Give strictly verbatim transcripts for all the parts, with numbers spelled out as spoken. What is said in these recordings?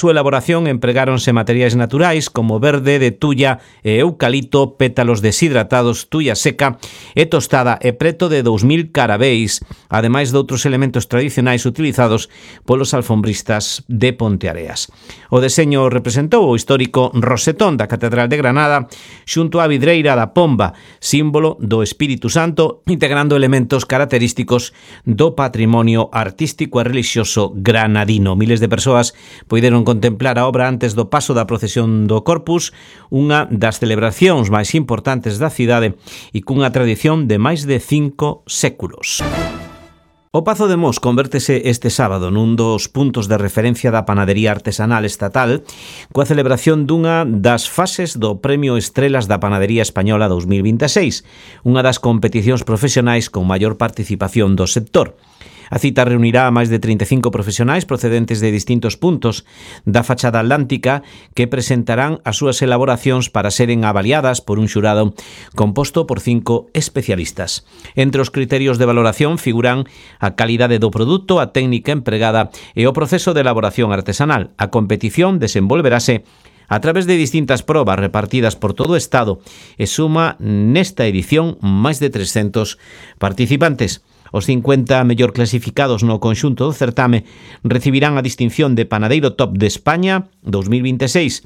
súa elaboración empregáronse materiais naturais como verde de tulla e eucalipto, pétalos deshidratados, tulla seca e tostada e preto de dous mil carabéis, ademais de outros elementos tradicionais utilizados polos alfombristas de Ponteareas. O deseño representou o histórico rosetón da Catedral de Granada xunto á vidreira da pomba, símbolo do Espírito Santo, integrando elementos característicos do patrimonio artístico e relixioso granadino. Miles de persoas poideron contemplar a obra antes do paso da procesión do Corpus, unha das celebracións máis importantes da cidade e cunha tradición de máis de cinco séculos. O Pazo de Mos convértese este sábado nun dos puntos de referencia da panadería artesanal estatal coa celebración dunha das fases do Premio Estrelas da Panadería Española dous mil vinte e seis, unha das competicións profesionais con maior participación do sector. A cita reunirá a máis de trinta e cinco profesionais procedentes de distintos puntos da fachada atlántica que presentarán as súas elaboracións para seren avaliadas por un xurado composto por cinco especialistas. Entre os criterios de valoración figuran a calidade do produto, a técnica empregada e o proceso de elaboración artesanal. A competición desenvolverase a través de distintas probas repartidas por todo o Estado e suma nesta edición máis de trescentos participantes. Os cincuenta mellor clasificados no conxunto do certame recibirán a distinción de Panadeiro Top de España dous mil vinte e seis,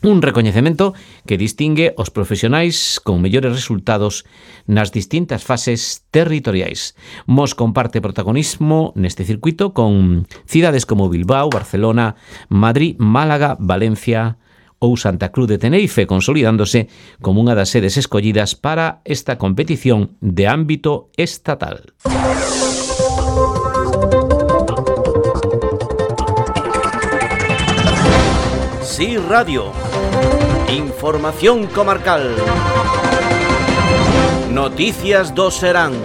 un recoñecemento que distingue os profesionais con mellores resultados nas distintas fases territoriais. Mos comparte protagonismo neste circuito con cidades como Bilbao, Barcelona, Madrid, Málaga, Valencia ou Santa Cruz de Tenerife, consolidándose como unha das sedes escollidas para esta competición de ámbito estatal. Sí Radio. Información comarcal. Noticias do Serán.